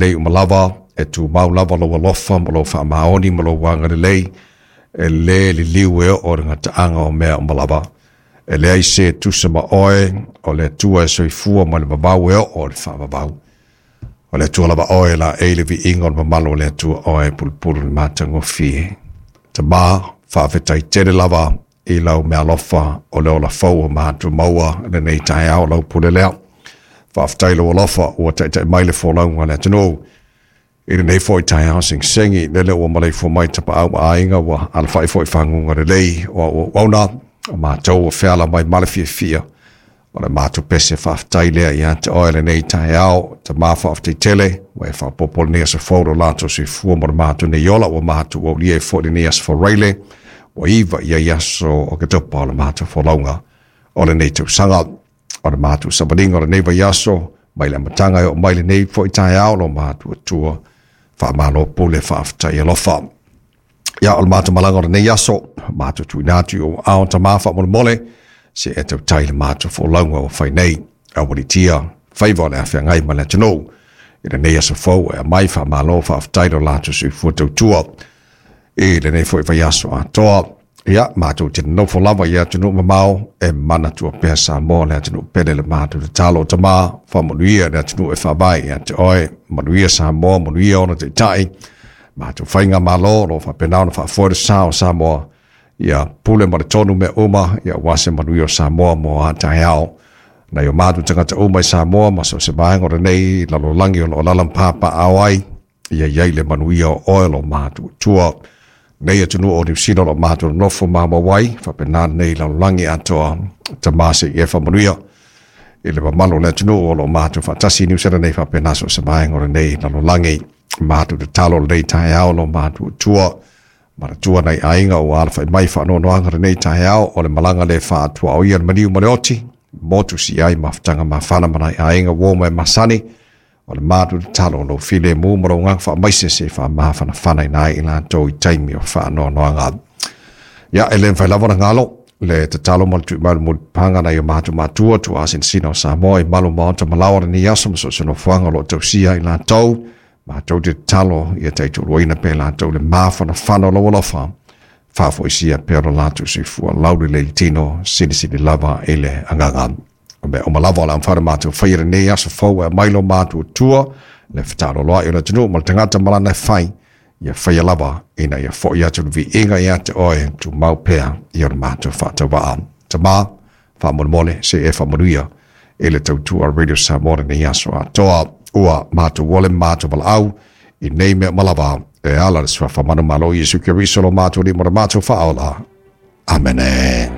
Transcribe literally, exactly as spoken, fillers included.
Lei umalava e tumau lava lou alofa ma lou faamaoni ma lou agalelei e lē liliu e oo le gataaga o mea uma lava. E leai se tusa ma oe o le Atua e soifua ma le vavau e oo o le faavavau. O le Atua lava oe laei le viiga o le mamalu o le Atua oe e pulupulu le matagofie. Tamā faafetai tele lava i lau meaalofa o le ola fou o matou maua lenei taeao lau pule lea. Faafetai lou alofa ua taitai mai le folauga a le atunuu i lenei foi taeao segisegi lele ua maleifua mai tapaau ma aiga ua alafai foi faguga lelei o auauauna o matou ua feala mai ma le fiafia o le matou pese faafetai lea ia te oe lenei taeao. Tamā faafetai tele ua e faaopoopo lenei aso fou lo latou soifua mo le matou nei ola ua matou aulia ai foi lenei aso Faraile ua iva i ai aso o Oketopa o le matou folauga o lenei tausaga. O le matou savaliga o lenei vaiaso mai le amataga e oo mai lenei foi taeao lo matou Atua faamalo pule faafetai alofa. Ia o le matou malaga o lenei aso matou tuuina atu i ou aao tamā faamolemole se e tautai le matou folauga ua fai nei aualiitia faiva o le afeagai ma le atunuu i lenei aso fou e aumai faamalo faafetai lo latou soifua tautua i lenei foi vaiaso atoa. Ia matou te nofo lava i atunuu mamao e manatua pea Samoa le atunuu pele le matou tatalo. Tamā faamanuia le atunuu e faavae ia te oe, manuia Samoa, manuia ona taitai, matou faigamalo o lo o faapena ona faafoe le sa o Samoa, ia pule ma le tonu mea uma ia aua se manuia o Samoa mo a taeao. Nai o matou tagata uma i Samoa ma so o se vaega o lenei lalolagi o lo o alaala ma papaaao ai, ia i ai le manuia o oe lo matou Atua. Nei atunuu o Niu Sila o lo o matou nonofo maumau ai, faapena lenei lalolagi atoa. Tamā se i e faamanuia i le mamalu o le atunuu o lo o matou faatasi i Niu Sila nei faapena so o se vaega o lenei lalolagi. Matou tatalo lenei taeao lo matou Atua. Manatua nai aiga ua alafai mai faanoanoaga lenei taeao o le malaga le faatuaoia le maliu ma le oti, motu si ai mafutaga mafana ma nai aiga uo ma e masani. O le matou tatalo lou filemu ma lou agaga faamaise se faamafanafana ai i latou i taimi o faanoanoaga. Ia e le mafai lava ona galo le tatalo ma le tuuina mai o le mulipapaga nai o matou matua tuaasinasina o Samoa i malu maota ma laoa lenei aso ma so o se nofoaga o lo o tausia i latou. Matou te tatalo ia taitoaluaina pea i latou le mafanafana o lau alofa, faafoisia pea lo latou soifua laulelei le tino silisili lava i le agaga. O mea uma lava o le a mafai ona matou faia lenei aso fou e aumai lo matou Atua le fetaaloloai o le atunuu ma le tagata ma lana e fai, ia faia lava ina ia foi atu le viiga ia te oe tumau pea i o le matou faatauvaa. Tamā faamolemole se e faamanuia i le tautua Radio Samoa lenei aso atoa. Ua matou ole ma matou valaau i nei mea uma lava e ala i le suafa manumalo o Iesu Keriso lo matou Alii ma le matou Faaola. Amene.